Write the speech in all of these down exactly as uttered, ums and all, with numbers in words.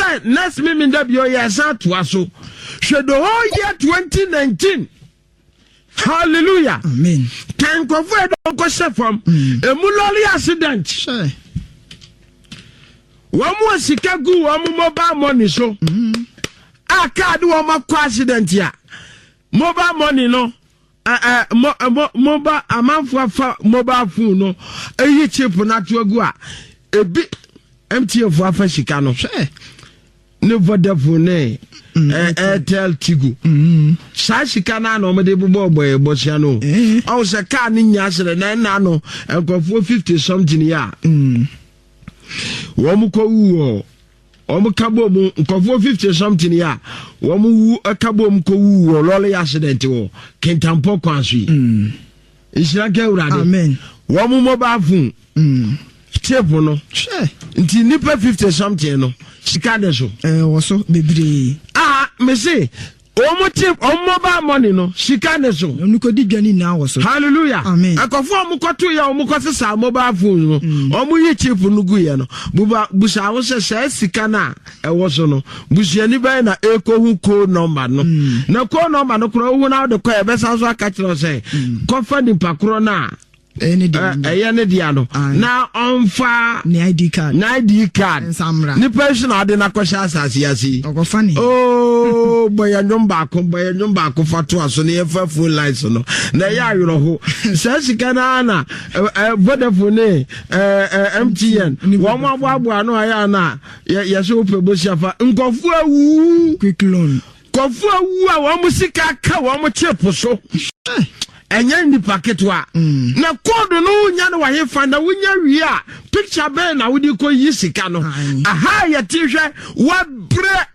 Sɛ next Memenda bio yɛsan atoa so. Hwɛ, the whole year twenty nineteen, hallelujah. Amen. Kan nkurɔfoɔ yɛ dɔn kɔhyɛ fam, emu lorry accident, Hwɛ. Wɔn mu a sika gu wɔn mobile money so a kaa de wɔn akɔ accident a, mobile money no, ɛ ɛ mo mo mobile amanfoɔ afa mobile phone no eyi chip n'ato agu a, ebi M T N fo afa sika no. Hwɛ. Ne Vodafone ne ɛ Airtel Tigo, saa sika no a na wɔde bobɔ ɔbɔ bɔsia no. Eh. Ɔwɔ sɛ kaa ne nya asrɛ na ɛna no nkurɔfoɔ fifty something yi a wɔn kɔ wu wɔ wɔn ka bɔ mu, nkurɔfoɔ fifty something yi a wɔn wu ka bɔ mu kɔ wu wɔ lorry accident wɔ Kintampɔ kwan so yi, nhyira nka Awurade. Amen. Wɔn mobile phone chip no. Hwɛ. Nti nipa fifty something no, sika de so. Ɛwɔ so bebree. A mese wɔn chip, wɔn mobile money no, sika de so. Ɔno kɔdi dwa ne nyinaa wɔ so. Hallelujah. Amen. Akɔfo a wɔn kɔto yɛ, wɔn kɔ sisa mobile phone no, wɔn yi chip no gu yɛ no, buba busa aho sɛ sɛ sika no a ɛwɔ so no, busuani bɛyɛ na ekohu code number no, na code number no korɔ ohun na ɔde kɔ yɛ, bɛsan so aka kyerɛ sɛ kɔfa nipa korɔ no a ɛyɛ ne deɛ. Ɛyɛ ne dea no Aye. na ɔnfa ne I D card. Ne I D card. Nsamra. Nipa yi so na ɔde n'akɔhyɛ asase ase yi. Ɔkɔfa ne. Ooo, bɔyɛ nnwom baako, bɔyɛ nnwom baako fa to aso ne yɛfa phone lines no na ɛyɛ awerɛho. Saa sika no ara na ɛ, ɛ, Vodafone ne ɛ, ɛ, M T N Ne wɔn mo aboaboa ano ayɛ ana yɛ yɛsɛ wopɛ bosia fa nkɔfoɔ awu. Quick loan. Nkɔfoɔ awu a wɔn mo sika ka wɔn mo chip so, ɛnyɛ nipa ketewa. Na code no wonya no wahe fa na wonya wie a, picture bɛn na wode kɔ yi sika no? Aye. Aha yɛte, hwɛ, wabrɛ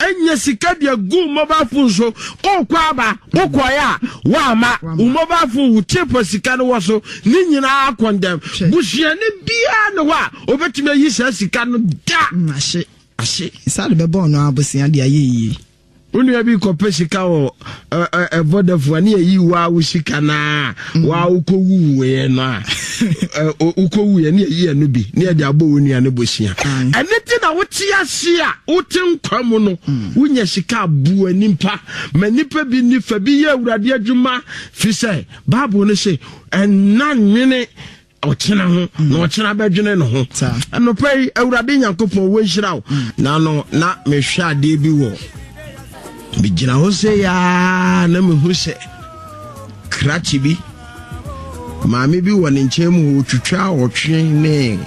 ɛnya sika de agu mobile phone so, wokɔ aba, wokɔɛ a woama wo mobile phone wo chip sika no wɔ so ne nyinaa kɔndɛm. Hwɛ. Busuani biara ne hɔ a obɛtumi ayi saa sika no da. Mm, ahye Ahye. Saa de bɛbɔ ɔno abosea de ayɛ yie. Wo nua bi kɔpɛ sika wɔ ɛ, ɛ, ɛ, Vodafone ne yɛyi waa wo sika naa waa wokɔwuwuiɛ no a, ɛ, o- wokɔwuiɛ ne yɛyi ɛno bi ne yɛde abɔ wo nua no bosia. Aye. Ɛne nti na wote ase a, wote nkwa mu no, wonya sika aboa nimpa ma nipa bi nifa bi yɛ Awurade adwuma, firi sɛ Bible no se ɛnna nwene ɔkyena ho na ɔkyena bɛdwene ne ho. Saa. Anɔpa yi, Awurade Nyankopɔn wɔnhyira wo. Na no na mehwɛ adeɛ bi wɔ, megyina hɔ sɛ yaa na mehu sɛ krakye bi, maame bi wɔ ne nkyɛn mu hɔ, ɔtwitwa ɔtwe ne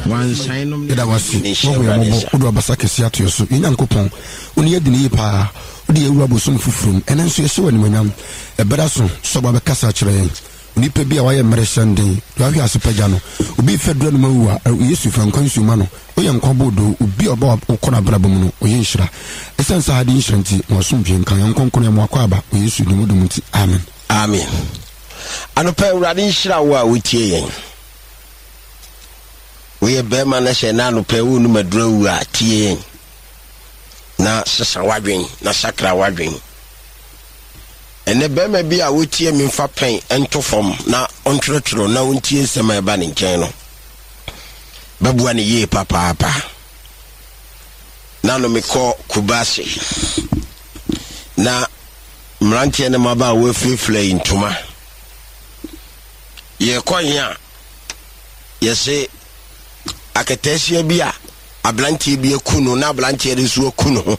wansan nom ne Yɛda wase, wahu yɛ mmɔbɔ, wode wabasa kɛse ato yɛ so. Yɛ Nyankopɔn, wo ne yɛadi ne yie paa. Wode yɛwura bosom foforɔ mu, ɛnɛ nso yɛhyɛ wɔ animonyam. Ɛbɛda so sɛ ɔba bɛkasa akyerɛ yɛn. Onipa bi a wayɛ mmerɛ hyɛnden de wahwɛ ase pagya no, obi fɛ dura no ma wu a, Yesu fa nkwa nsuo ma no. Woyɛ nkwa boodoo. Obi a ɔba wokɔ no abrabɔ mu no, ɔyɛ nhyira. Ɛsiane sɛ ha de nhyira nti, ma ɔsomdwe nka yɛn nkɔnkɔn yɛ mmoakɔ aba wɔ Yesu din mu dom nti, amen. Amen. Anɔpa, Awurade nhyira wo a wotie yɛn. Woyɛ bɛrima no sɛ na anɔpa wonum aduru awu a, tie yɛn na sesa w'adwen na sakra w'adwen. Ɛnɛ bɛrima bi a wotie me, mfa pɛn nto fam na ɔntwerɛtwerɛ na ɔntie nsɛm a ɛba ne nkyɛn no, bɛboa ne yie papaapa. Na no mekɔ Kubase na mmeranteɛ ne mmabaa a wɔafirafira yi ntoma, yɛkɔ he a, yɛse akataasia bi a aberanteɛ bi aku no, na aberanteɛ no nso aku ne ho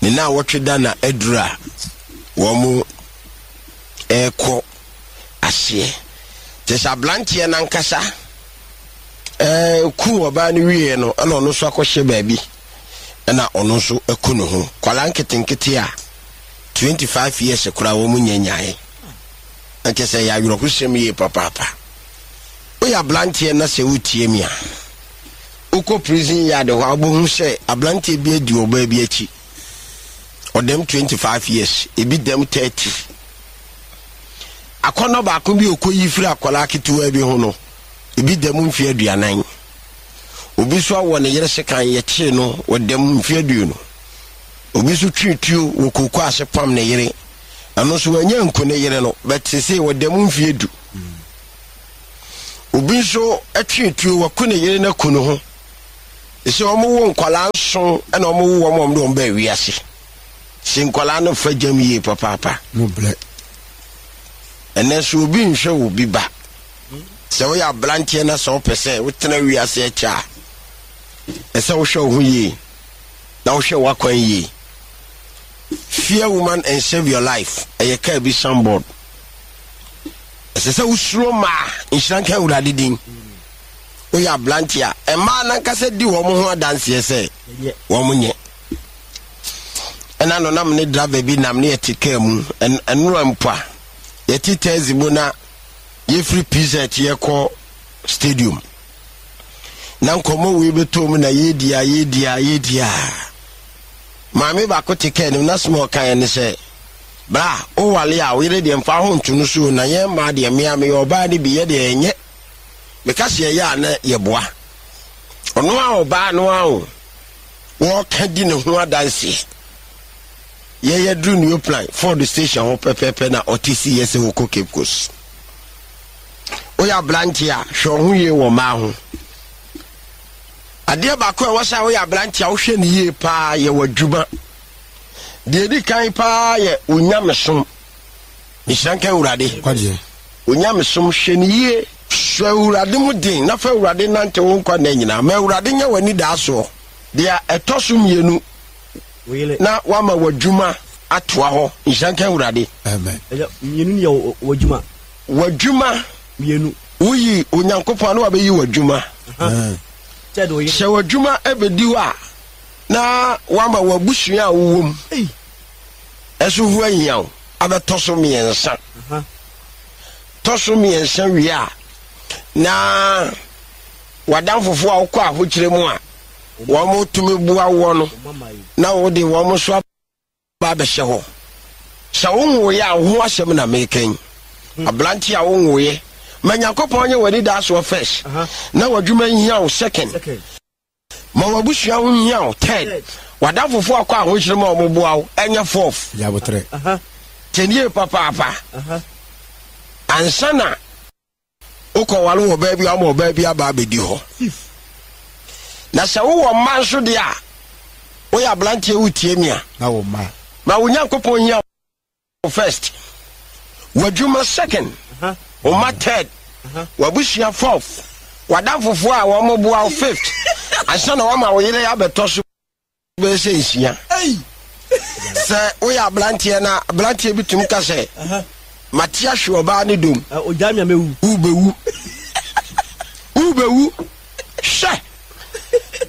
ne na wɔtwe da na aduru a wɔn mo ɛrekɔ aseɛ kyɛ sɛ aberanteɛ nankasa ɛɛ ku ɔbaa no wieɛ no, ɛna ɔno nso akɔhyɛ baabi, ɛna ɔno nso aku ne ho. Kwalaa nketenkete a twenty-five years koraa wɔn mu nyɛ nyae. Ɛkyɛ sɛ yɛ awerɛhosɛm yie papaapa. Woyɛ aberanteɛ na sɛ wotie mi a, wokɔ prison yard hɔ a, wobɛhu sɛ aberanteɛ bi adi ɔbaa bi akyi, ɔdɛm twenty-five years, ebi dɛm thirty. Akɔnɔ baako bi okɔyi firi akwadaa ketewa bi ho no, ebi dɛm mfe aduanan. Obi nso awɔ ne yere sekan, yɛkyee no, wɔdɛm mfe aduonu. Obi nso twe tuo wɔ kooko ase pam ne yere, ɛno nso wanya nku ne yere no bɛte sɛ wɔdɛm mfe edu. Obi nso twe tuo, waku ne yere no, aku ne ho. Ɛsɛ wɔn wo nkwadaa nson ɛna wɔn wo wɔn wɔn de wɔn bɛɛ wiase. Sɛ nkwadaa no fa gyam yie papaapa. Mo blɛ. Ɛnɛ so obi nhwɛ wo bi ba. Sɛ woyɛ aberanteɛ na sɛ wopɛ sɛ wotena wiase akyɛ a, ɛsɛ wohwɛ wo ho yie na wohwɛ w'akwan yie. Fear woman and save your life. Ɛyɛ kaa bi signboard. Ɛsɛ sɛ wosuro mmaa. Nhyira nka Awurade din. Woyɛ aberanteɛ a, mmaa nankasa di wɔn ho adanseɛ sɛ wɔn nyɛ. Ɛna no nam ne driver bi nam ne yɛte kaa mu ɛnora mpo a yɛte taxi mu na yɛfiri P Z yɛkɔ stadium na nkɔmmɔ wei bɛtɔ mu na yɛdi a yɛdi a yɛdi a maame baako te kaa nim na soma ɔkaeɛ ne sɛ, bra wowale a, woyere deɛ mfa ho nto no so, na yɛn mmaa deɛ, mmea meyɛ ɔbaa no bi, yɛ deɛ ɛnyɛ meka sɛ yɛyɛ a na yɛboa ɔno a ɔbaa no a o wɔka di ne ho adanseɛ. Yɛyɛ duru New Plan Ford station hɔ pɛpɛɛpɛ na ɔte si yɛ sɛ wɔkɔ Cape Coast. Woyɛ aberante a, hwɛ wo ho yie wɔ mmaa ho. Adeɛ baako a ɛwɔ sɛ woyɛ aberante a wohwɛ ne yie paa yɛ w'adwuma. Deɛ ɛdi kan paa yɛ onyamesom. Nhyira nka Awurade. Onyamesom, hwɛ ne yie. Hwɛ Awurade mu den na fa Awurade nante wo nkwa nna nyinaa. Ma Awurade nyɛ w'ani daa soɔ. Deɛ ɛtɔ so mmienu na wama w'adwuma atoa hɔ. Nhyira nka Awurade. Mmienu yɛ w'adwuma. W'adwuma. Mmienu. Woyi Onyankopɔn na wabɛyi w'adwuma. Sɛ w'adwuma bɛdi hɔ a, na wama w'abusua a wowɔ mu ɛso ho ahia wo abɛtɔ so mmiɛnsa. Tɔ so mmiɛnsa wie a, na w'adamfofoɔ a wokɔ ahokyerɛ mu a wɔn tumi boa woɔ no, na wode wɔn nso aba abɛhyɛ hɔ. Sɛ wonwoeɛ a, wo ho asɛm na meekɛn. Aberante a wonwoeɛ, ma Nyankopɔn nyɛ w'ani daa soɔ first, na w'adwuma nhia wo second, ma w'abusua ho nhia wo third, w'adamfofoɔ akɔ ahokyerɛ mu a wɔboa wo ɛnyɛ fourth. Kyɛnie papaapa ansa na wokɔware wɔ baa bi ama ɔbaa bi aba abɛdi hɔ. Na sɛ wowɔ mma nso deɛ a, woyɛ aberanteɛ wotie mi a, ma wo Nyankopɔn hia wo first, w'adwuma second, wo mma third, w'abusua fourth, w'adamfofoɔ a wɔn boa wo fifth, ansa na wama wo yere abɛtɔ so bɛyɛ sɛ nsia. Sɛ woyɛ aberanteɛ na aberanteɛ bi tumi ka sɛ mate ahwe ɔbaa ne dom, wobɛwu, wobɛwu. Hwɛ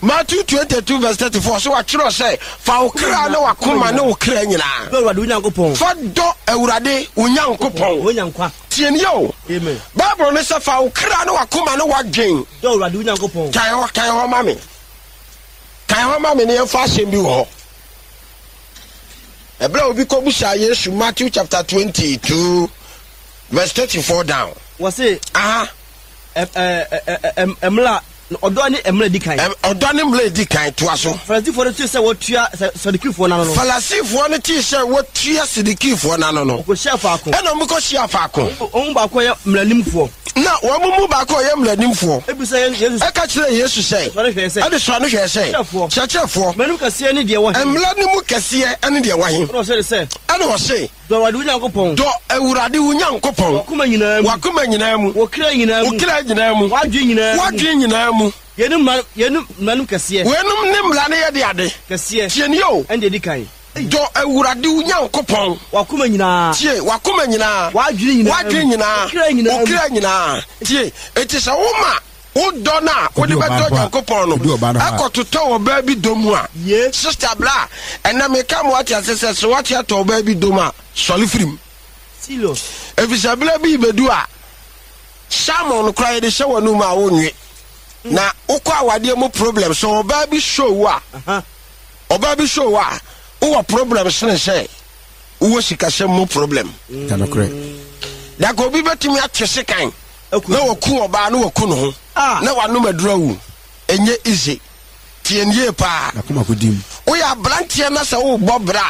Matthew twenty-two verse thirty-four so, watwerɛ sɛ fa wo kra ne wakoma ne wo kra nyinaa fa dɔ Awurade wo Nyankopɔn. Tie nie o, Bible ne sɛ fa wo kra ne wakoma ne wadwen. Kae hɔ, kae hɔ ma me, kae hɔ ma me ne yɛmfa asɛm bi wɔ hɔ. Ɛberɛ a obi kɔbusaa Yesu, Matthew chapter twenty-two verse thirty-four down. Wɔse aha mmla ɔdɔ ne mmla di kan. Ɔdɔ ne mmla di kan, toa so. Farisifoɔ no tee sɛ wɔtua Sadukifoɔ no ano no. Farisifoɔ no tee sɛ wɔtua Sadukifoɔ no ano no. Wɔkɔhyia faako. Ɛna wɔn kɔhyia faako. Wɔn mu baako yɛ mmaranimfoɔ. Na wɔn mu baako yɛ mmaranimfoɔ. Ebisa Yesu. Ɛka kyerɛ Yesu sɛ. Ɛde sɔ no hwɛ sɛ. Kyerɛkyerɛfoɔ. Mmara no mu kɛseɛ ne deɛ wɔ he. Mmara no mu kɛseɛ ne deɛ wɔ he. Ɛna ɔsɛ de sɛ. Ɛna ɔse. Dɔ Awurade wo Nyankopɔn. Dɔ Awurade wo Nyankopɔn. W'akoma nyinaa mu. W'akoma nyinaa mu. Wo kra nyinaa mu. Wo kra nyinaa mu. W'adwene nyinaa mu. W'adwene nyinaa mu. Yeinom mmara yeinom mmara no mu kɛseɛ. Weinom ne mmara no yɛ de ade. Kɛseɛ. Tie nie o. Ɛne deɛ di kan. Dɔ Awurade wo Nyankopɔn. W'akoma nyinaa. Tie, w'akoma nyinaa. W'adwene nyinaa. W'adwene nyinaa. Wo kra nyinaa mu. Wo kra nyinaa. Tie, eti sɛ woma wodɔ no a wode bɛdɔ Nyankopɔn no ɛkɔtotɔ wɔ baa bi dɔ mu a, sister bra, ɛnɛ meka ma wate ase sɛ sɛ wate atɔ ɔbaa bi dɔ mu a, sɔre firi mu, ɛfiri sɛ berɛ bi bɛdu a salmon no koraa yɛde hyɛ w'anum a wonwe. Na wokɔ awadeɛ mu problem, sɛ ɔbaa bi show wo a, ɔbaa bi show wo a, wowɔ problem sene sɛ wowɔ sikasɛm mu problem. Daka obi bɛtumi ate sekan na waku ɔbaa na waku ne ho na wanom aduru awu. Ɛnyɛ easy. Tie no yie paa. Woyɛ aberanteɛ na sɛ wobɔ bra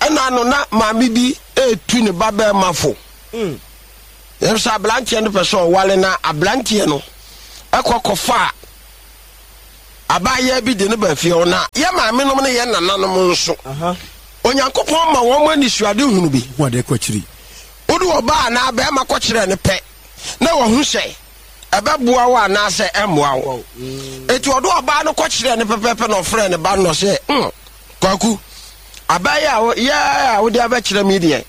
a, ɛna no na maame bi ɛretu ne ba bɛrima fo. Ɛm sɛ aberanteɛ no pɛ sɛ ɔwale, na aberanteɛ no ɛkɔ kɔfa Abaayewa bi de no ba fie hɔ, na yɛ maamenom ne yɛ nananom nso, Onyankopɔn ma wɔn anisuade hunu bi. Hu adeɛ kɔ akyiri. Wode ɔbaa anaa bɛrima kɔkyerɛ no pɛ na wahu sɛ ɛbɛboa wo anaasɛ ɛmmoa wo. Eti ɔde ɔbaa no kɔkyerɛ no pɛpɛpɛ na ɔfrɛ ne ba no sɛ, mm Kwaku, abaayewa a wo- yɛ a wode abɛkyerɛ me deɛ,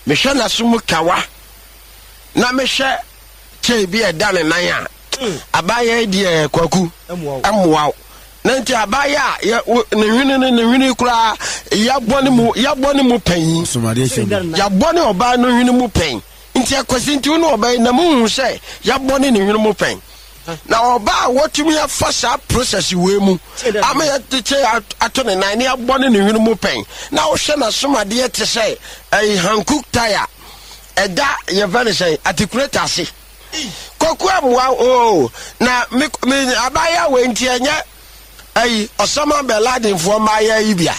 mehwɛ n'aso mu kawa na mehwɛ kyɛe bi a ɛda ne nan a, abaayewa yi deɛ, Kwaku, ɛmmoa wo. Na nti abaayewa a yɛ wo- ne hwene no, ne hwene koraa yɛabɔ ne mu yɛabɔ ne mu panyin. Somadeɛ hyɛ mu. Yɛabɔ ne ɔbaa no hwene mu pɛn, nti akwasi nti wo ne ɔbaa yi na muhu sɛ yɛabɔ ne ne hwene mu pɛn, na ɔbaa a wɔtumi afa saa process wei mu ama yɛde kyɛ ato ne nan ne yɛabɔ ne ne hwene mu pɛn, na wohwɛ n'asomadeɛ te sɛ ɛyi Hankook tyre ɛda yɛfɛ ne sɛn atikuleta ase, Kwaku, amoa o. Na me me abaayewa wei nti ɛnyɛ ɛyi Osama bin Ladenfoɔ mmaayɛ yi bia.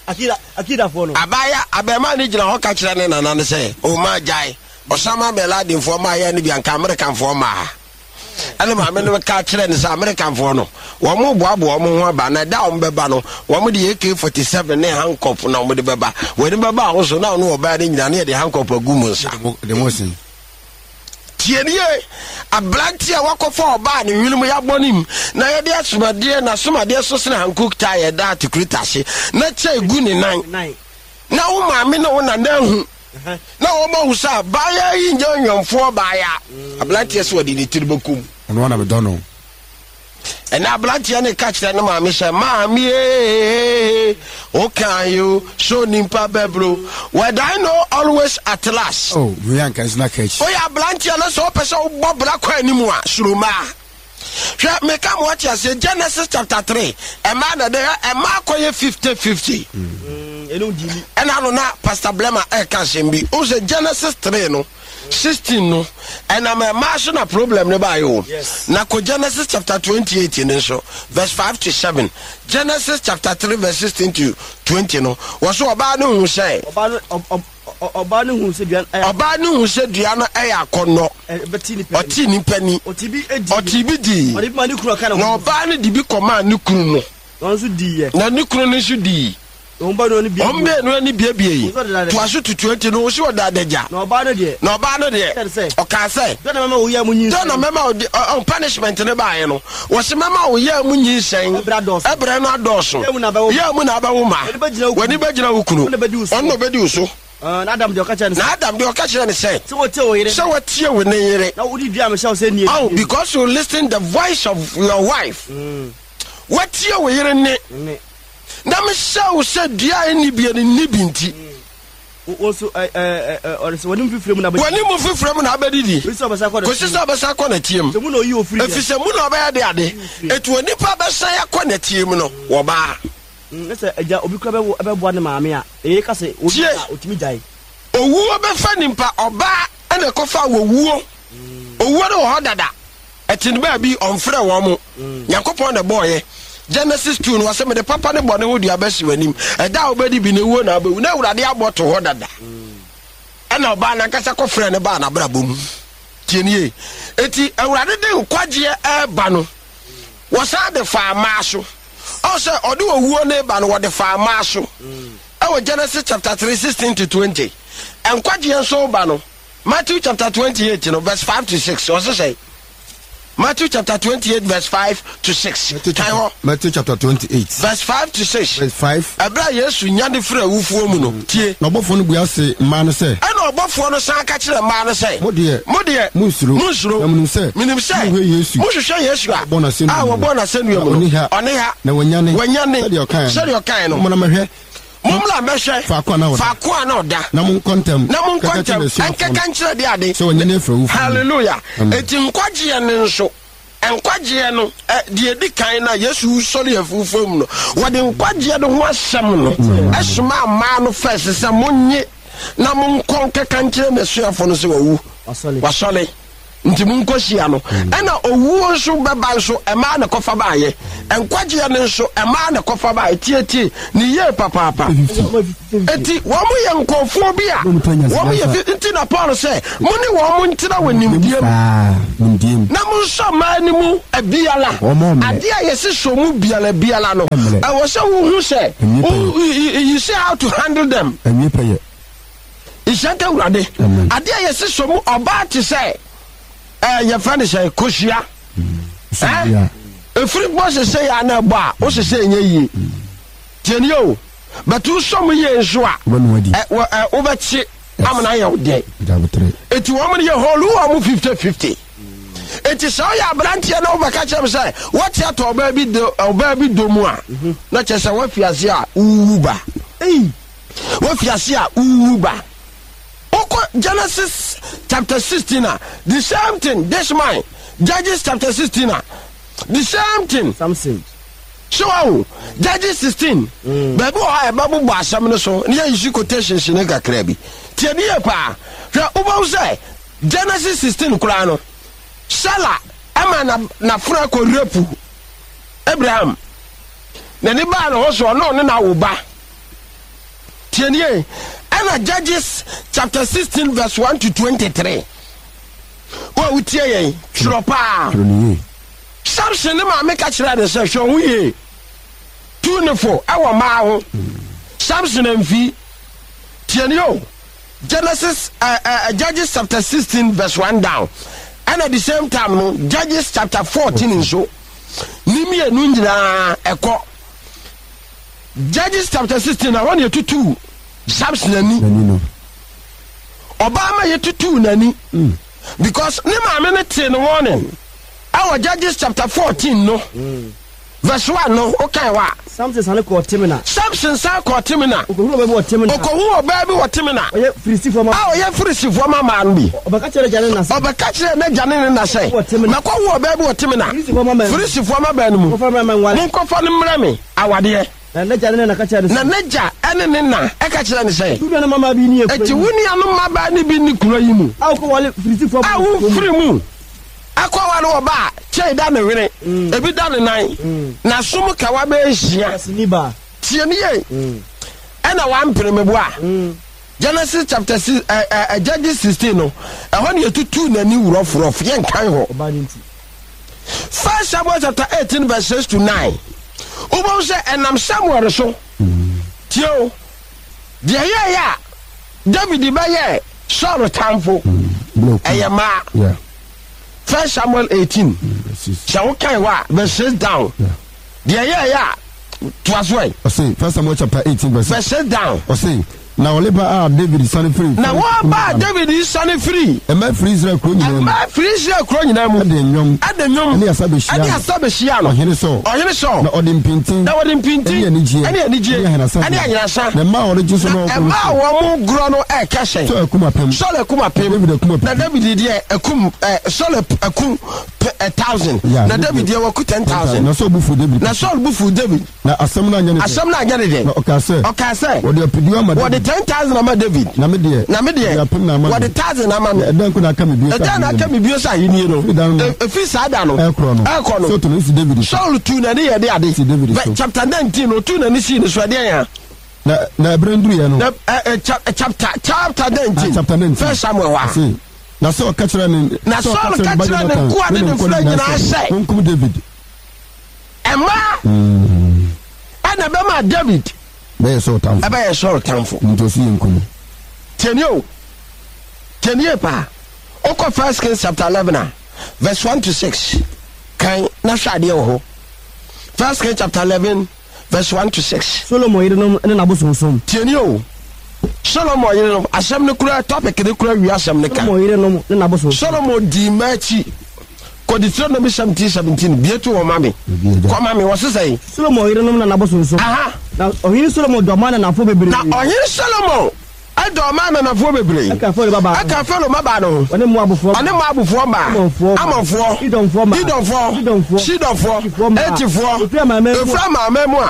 Akida akidafoɔ no. Abaayewa abɛɛmaa no gyina hɔ ka kyerɛ ne nana no sɛ ɔma gyae Osama bin Ladenfoɔ mmaayɛ no bia, nka Amerikanfoɔ mmaa. Ɛne maame no ka kyerɛ no sɛ Amerikanfoɔ no, wɔn mo boaboa wɔn ho aba, na ɛda a wɔn bɛba no, wɔn de A K forty-seven ne handcuff na wɔn de bɛba. Wɔn bɛba ahosuo na ɔno ɔbaa no nyinaa ne yɛde handcuff agu mu nsa. De mo sen. Tie nie, aberante a wakɔfa ɔbaa ne hwene mu yɛabɔ ne mu na yɛde asomadeɛ na asomadeɛ so sene Hankook tyre yɛda atikurita ase na kyɛ egu ne nan Nan. Na wo maame ne wo nana ahu na wɔn ahu sɛ abaayewa yi nyɛ ɔnyɔnfoɔ baaya. Aberanteɛ sɛ wɔde ne tiri bɛkum. Ɔno ana medɔ no. Ɛnɛ aberanteɛ ne ka kyerɛ ne maame sɛ, "Maame ee, woka yo so nimpa bɛbro well I know always at last." Oh, meyɛ anka nso na ka akyi. Woyɛ aberanteɛ no sɛ wopɛ sɛ wobɔ bra kɔ anim a, suromaa. Hwɛ, meka ma wate aseɛ, Genesis chapter three, ɛmaa na dɛ ɛmaa kɔyɛ fifty fifty. Ɛno di ni. Ɛna no na Pastor Blema ɛka asɛm bi wo sɛ Genesis three no sixteen no, ɛnam ɛmaa so na problem no baayɛ o. Yes. Na kɔ Genesis chapter twenty-eight no nso, verse five to seven. Genesis chapter three verse sixteen to twenty no, wɔ so ɔbaa no hu sɛ Ɔbaa no ɔ- ɔ- ɔ- ɔbaa no hu sɛ dua no ɛyɛ ɔbaa no hu sɛ dua no ɛyɛ akɔnnɔ. Ɛbɛti nipa ni. Ɔte nipa ni. Ɔte bi edi. Ɔte bi dii. Ɔde bi ma ne kunu ɔka ne Na ho. ɔbaa no de bi kɔmaa ne kunu no. Na ɔno nso di yɛ. Na ne kunu no nso dii. Na wɔn ba no ne bie. Wɔn baanu ani biebie yi. Ɔsɛ ɔde toa so to twenty no, wosi ɔda adagya. Na ɔbaa no deɛ. Na ɔbaa no deɛ, Kyerɛ sɛ. Ɔkaa sɛ, dɛn na mɛma wo yɛ mu nyinsɛn. Dɛn na mɛma wo ɔ punishment ne baeɛ no, wɔsi mɛma wo yɛ mu nyinsɛn. Ɛbrɛ adɔɔso. Ɛbrɛ no adɔɔso. Yɛ mu na abɛwo. Yɛ mu na abɛwo ma. W'ani bɛgyina wo kunu. W'ani bɛgyina wo kunu. Ɔno na bɛdi wo so. Ɔno na ɔbɛdi wo so. Ɛɛ, na Adam deɛ, ɔka kyerɛ no sɛ. Na Adam deɛ, ɔka kyerɛ no sɛ. Sɛ wɔtie wo yere. Sɛ wɔtie wo ne yere. Na wodi dua a mehyɛ wo sɛ nie. Oh, because you listen the voice of your wife, wɔtie wo yere ne ne. Na mehyɛ wo sɛ dua a ɛnni bie no nni bi nti. Wo wo nso ɛ ɛ ɛ ɔde sɛ wɔne mu fifire mu na bɛdi. W'ani mu fifire mu na abɛdidi. Kòsi sɛ ɔbɛsa akɔ kòsi sɛ ɔbɛsa akɔ n'atie mu. Sɛ mu na oyi ofiri yɛ. Ɛfiri sɛ mu na ɔbɛyɛ de ade ɛti onipa bɛsan akɔ n'atie mu no wɔbaa. Ne sɛ agya obi kura bɛwo ɛbɛboa ne maame a eye ka sɛ obi Tie. a otumi gyae. Owuo bɛfa nipa ɔbaa ɛna ɛkɔfa wɔwuo. Owuo no wɔ hɔ dada, ɛte no baabi ɔmfrɛ wɔn mo. Nyankopɔn na ɛbɔɔyɛ. Genesis two no, wɔsɛ mede papa ne bɔne ho dua bɛsi w'anim, ɛda a wobɛdi bi no ewuo na wobɛwu. Na Awurade abɔ to hɔ dada, ɛna ɔbaa nankasa kɔfrɛ ne baa n'abrabɔ mu. Tie nie, eti Awurade de nkwagyeɛ ɛɛba no, wɔsan de faa mmaa so. Ɔn sɛ ɔde owuo ne ba no, wɔde faa mmaa so ɛwɔ Genesis chapter three sixteen to twenty. Nkwagyeɛ nso ba no, Matthew chapter twenty-eight no verse five to six. Ɔsɛ sɛ Matthew chapter twenty-eight verse five to six. Matthew kan chapter, hɔ. Matthew chapter twenty-eight. Verse five to six. Verse five. Ɛberɛ a Yesu nya de firi awufoɔ mu no, tie. Na ɔbɔfoɔ no bua se mmaa no sɛ, ɛna ɔbɔfoɔ no san ka kyerɛ mmaa no sɛ, Mo deɛ, mo deɛ, monnsuro. Monnsuro. Na menim sɛ, menim sɛ mohwehwɛ Yesu, mohwehwɛ Yesu a wɔbɔɔ no asɛnnua a mu no. wɔbɔɔ no asɛnnua mu Na no. ɔnni ha. Ɔne ha. Na wanyane. Wanyane. Sɛdeɛ ɔkaeɛ no. Sɛdeɛ ɔkaeɛ no. Mommra mmɛhwɛ mommra mmɛhwɛ faako a na ɔda. Faako a na ɔda. Na monkɔ ntɛm. Na monkɔ kɛkɛ kyerɛ ntɛm n'asuafoɔ no ɛnkɛka nkyerɛ de ade sɛ wanyane afiri awufoɔ mu. Hallelujah. Amen. Eti nkwagyeɛ no nso, nkwagyeɛ no ɛ deɛ edi kan na Yesu sɔre afufuo mu no, wɔde nkwagyeɛ no ho asɛm no ɛsoma mmaa no fɛs sɛ monye na monkɔ nkɛka nkyerɛ n'asuafoɔ no sɛ wawu. Wasɔre. Wasɔre. Nti monkɔhyia no. Ɛna owuo nso bɛba nso, ɛmaa ne kɔfa baayɛ. Nkwagyeɛ no nso, ɛmaa ne kɔfa baayɛ. Tietie ne yie papaapa. Eti wɔn yɛ nkurɔfoɔ bi a wɔn yɛ fi nti na Paul sɛ mo ne wɔn ntena wɔ nimdeɛ mu na mo nsɔ mmaa no mu biara. Adeɛ a yɛsi so mu biara biara no, ɛwɔ sɛ wohu sɛ you see how to handle them. Nhyɛnka Awurade. Adeɛ a yɛsi so mu ɔbaa te sɛ ɛɛ yɛfrɛ no sɛ kosua. Ɛɛ efiri bɔ sese yɛ ana ɛbɔ a o sese nyɛ yie. Tie ni o, bɛtu sɔm yie nso a ɛ ɛ wobɛkye amena yɛ wo dɛ. Eti wɔn yɛ hɔlu wɔn fifty fifty. Eti sɛ ɔyɛ aberanteɛ na wobɛka kyerɛ m sɛ wɔte atɔ ɔbaa bi do ɔbaa bi do mu a, na kyerɛ sɛ wafi ase a wuwu ba. Wafi ase a wuwu ba. Wokɔ Genesis chapter sixteen a, the same thing. This man, Judges chapter sixteen a, the same thing. Samson. So awo Judges sixteen. Baabi wɔ hɔ a ɛbɛbobɔ asɛm no so ne yɛyi quotations ne kakra bi. Tie ne yie paa. Hwɛ, wobɛhu sɛ Genesis sixteen koraa no, Sela ɛma na n'afra kɔ rape Abraham. N'ani baa ne ho so, ɔno ɔne n'awo ba. Tie ne yie. Ɛna Judges chapter sixteen verse one to twenty-three. Wo a wotie yɛn, twerɛ paa. Samson ne maame ka kyerɛ ne sɛ, hwɛ ho yie, tu ne fo ɛwɔ mmaa ho. Samson amfi. Tie ne o. Genesis uh, uh, Judges chapter sixteen verse one down. And at the same time no, Judges chapter fourteen nso ne mmienu nyinaa ɛkɔ. Judges chapter sixteen na hɔ ne yɛtutu Samson ani. Ɔbaa ma yɛtutu n'ani because ne maame no tee no warning ɛwɔ Judges chapter fourteen no verse one no, wokae hɔ a. Samson sane kɔɔ Timna. Samson san kɔɔ Timna. Okohu ɔbaa bi wɔ Timna. Okohu ɔbaa bi wɔ Timna. Ɔyɛ Filistifoɔ ma. A ɔyɛ Filistifoɔ ma maa no bi. Ɔbɛka kyerɛ n'agya ne ne na sɛ. Ɔbɛka kyerɛ n'agya ne ne na sɛ. Wɔ Timna. Mɛkɔhu ɔbaa bi wɔ Timna. Filistifoɔ ma baa no. Filistifoɔ ma baa no mu. Monkɔfa no mmrɛ me nware. Monkɔfa no mmrɛ me awadeɛ. Na n'agya ne ne na ka kyerɛ no sɛ. Na n'agya ne ne na ka kyerɛ no sɛ. Wo nuanom mmabaa bi nni kuro yi mu. Enti wo nuanom mmabaa no bi nni kuro yi mu. A wokɔware Filistifoɔ A wofiri mu akɔware ɔbaa a kyɛe da ne hwene, ebi da ne nan, n'asom kawa bɛyɛ nsia. Tie me yie. Ɛna wampene me bo a. Genesis chapter six, ɛ ɛ Judges sixteen no, ɛhɔ ne yɛtutu n'ani wurɔfurɔf, yɛnkan hɔ. First Samuel chapter eighteen verse six to nine. Wobɛhu sɛ ɛnam Samuel so. Tie o. Deɛ yɛyɛ a David bɛyɛ Saul tamfo ɛyɛ mmaa. First Samuel eighteen. Sɛ wokan hɔ a, verse six down. Deɛ yɛyɛ a toa so ɛ. Ɔse First Samuel chapter eighteen verse six. Verse six down. Ɔse na ɔleba a David sane firi. Na wɔba a David sane firi. Mmaa firi Israel kuro nyinaa mu. Mmaa firi Israel kuro nyinaa mu. Ɛde nnwom. Ɛde nnwom. Ɛne asa bɛhyia no. Ɛne asa bɛhyia no. Ɔhene Saul. Ɔhene Saul. Na ɔde mpintin. Na wɔde mpintin. Ɛne anigyeɛ. Ɛne anigyeɛ. Ɛne ahenasa. Ɛne ahenasa. Na mmaa a wɔde gye so na Na mmaa a wɔn gorɔ no ɛɛka hyɛn. Saul akum apem. Saul akum apem. David akum apem. Na David deɛ akum ɛ Saul akum a thousand. Yeah, Na David deɛ waku ten thousand. Na Saul bu fu David. Na Saul bu fu David. Na asɛm no anyɛ ne dɛ. Asɛm no anyɛ ne dɛ. Na ɔkaa sɛ. Ɔkaa sɛ. Wɔde apedu ama David. Wɔde ten thousand ama David. Na me deɛ. Na me deɛ. Wɔde apem na ama me. Wɔde thousand ama me. Na ɛdɛn nko na aka me bio sɛ Ɛdɛn na aka me bio sɛ ahennie no. Ɛfiri da no. Ɛfiri saa da no. Ɛkorɔ no. Ɛkorɔ no. Saul tu n'ani si David so. Saul tu n'ani yɛ de ade. Si David so. Chapter nineteen otu n'ani si ne so ɛdeɛn ya. Na na ɛberɛ nduruiɛ no. Na ɛ ɛ chapter chapter nineteen. Ah, chapter nineteen. First Samuel hɔ a. Na Saul ka kyerɛ ne. Na Saul ka kyerɛ ne nkoa ne ne mfra nyinaa sɛ. Monkum David. Mmaa ɛna bɛma David bɛyɛ Saul tamfo. Ɛbɛyɛ Saul tamfo. Nti ɔsi yɛ nkum. Tiɛni o, tiɛni yɛ paa. Okɔ First Kings chapter eleven a, verse one to six. Kan na hwɛ adeɛ wɔ hɔ. First Kings chapter eleven verse one to six. Solomon yerenom ne n'abosonsom. Tiɛni o, Solomon yerenom asɛm no kura topic no kura wi asɛm no ka. Solomon yerenom ne n'abosonsom. Solomon di mmaa akyi. Kɔ Deuteronomy seventeen seventeen bie to wɔn ma me. Kɔ ma me wɔ sisan yi. Solomon yerenom na n'abosonsom. Aha. Na ɔhene Solomon dɔ mmaa nanafo bebree. Na ɔhene Solomon Ɛdɔ ɔmaa ananafoɔ bebree. Ɛka Farao babaa ho. Ɛka Farao mmabaa no ho. Ɔne Moabfoɔ. Ɔne Moabfoɔ mmaa. Amonfoɔ. Amonfoɔ. Edonfoɔ mmaa. Edonfoɔ. Sidonfoɔ. Sidonfoɔ. Hetifoɔ mmaa. Hetifoɔ. Ɛfiri amanaman mu a. Ɛfiri amanaman mu a.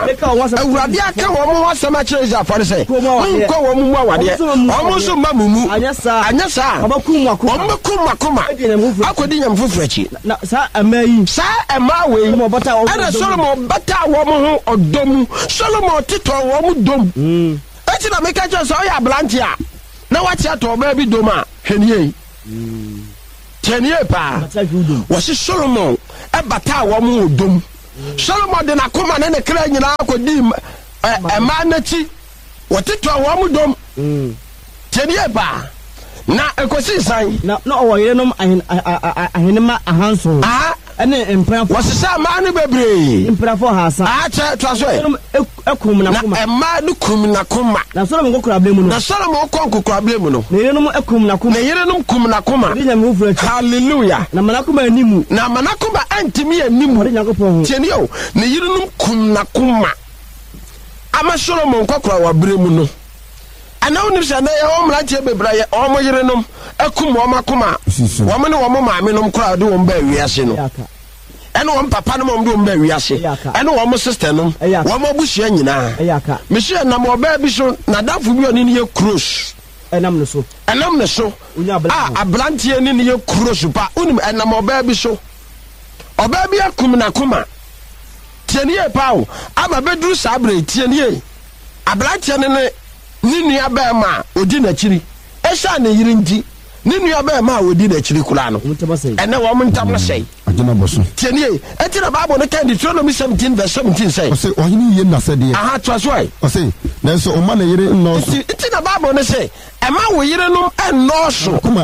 Awurade aka wɔn ho asɛm akyerɛ Israelfoɔ no sɛ, Monnkɔ wɔn mu awadeɛ. Wɔn nso mma mo mu. Anyɛ saa a. Anyɛ saa a. Wɔbɛkum mo akoma. Wɔbɛkum mo akoma. Akɔdi anyame foforɔ akyi. Na saa mmaa yi. Saa mmaa wei. Ɛna Solomon bataa wɔn ho ɔdɔ mu. Solomon tetɔɔ wɔn dɔ mu. Enti na meka kyerɛ sɛ ɔyɛ aberante a na wate atɔ ɔbaa bi dom a, hwɛ ne yie. Tiɛ ne yie paa. Wɔsi Solomon bataa wɔn wɔ dom. Solomon de n'akoma ne ne kra nyinaa kɔdii mmaa n'akyi. Wɔtetɔɔ wɔn dom. Tiɛ ne yie paa. Na ɛkɔsii sɛn? Na na ɔwɔ yerenom ahen, ahenemma ahanson. Aha. Ɛne mpenafo. Wɔsesaa mmaa no bebree. Mpenafo ahasa. Aha, kyɛ, toa so ɛ. Yerenom kum n'akoma. Na mmaa no kum n'akoma. Na Solomon nkɔkoraaberɛ mu no. Na Solomon kɔ nkɔkoraaberɛ mu no. Ne yerenom kum n'akoma. Ne yerenom kum n'akoma. Ɔde nyame foforɔ akyi. Hallelujah. Na ma n'akoma anni mu. Na ma n'akoma antumi anni mu. Ɔde Nyankopɔn ho. Tie nie o, ne yerenom kum n'akoma. Ama Solomon nkɔkoraaberɛ mu no. Ɛnna wonim sɛ nnɛ yɛwɔ mmeranteɛ bebree a wɔn yerenom akum wɔn akoma a wɔn ne wɔn maamenom koraa de wɔn baa wiase no, ɛne wɔn papa nom a wɔde wɔn baa wiase, ɛne wɔn sister nom, wɔn abusua nyinaa. Mesi ɛnam ɔbaa bi so, n'adamfo bi a ɔne no yɛ close. Ɛnam ne so. Ɛnam ne so. A aberanteɛ ne no yɛ close pa. Wonim ɛnam ɔbaa bi so. Ɔbaa bi akum n'akoma. Tie ne yie paa o. Ama bɛduru saa berɛ yi, tie ne yie. Aberanteɛ no ne ne nuabarima a ɔdi n'akyiri. Ɛsiane ne yere nti, ne nuabarima a ɔdi n'akyiri koraa no, ɛnnɛ wɔn ntam asɛe. Tie nie, enti na Bible no ka Deuteronomy seventeen verse seventeen sɛ. Ɔse, ɔhene ye n'asɛdeɛ. Aha, toa so ɛ. Ɔse, nanso ɔmma ne yere nnɔɔso. Nti, nti na Bible no se, ɛmma wo yerenom nnɔɔso. N'akoma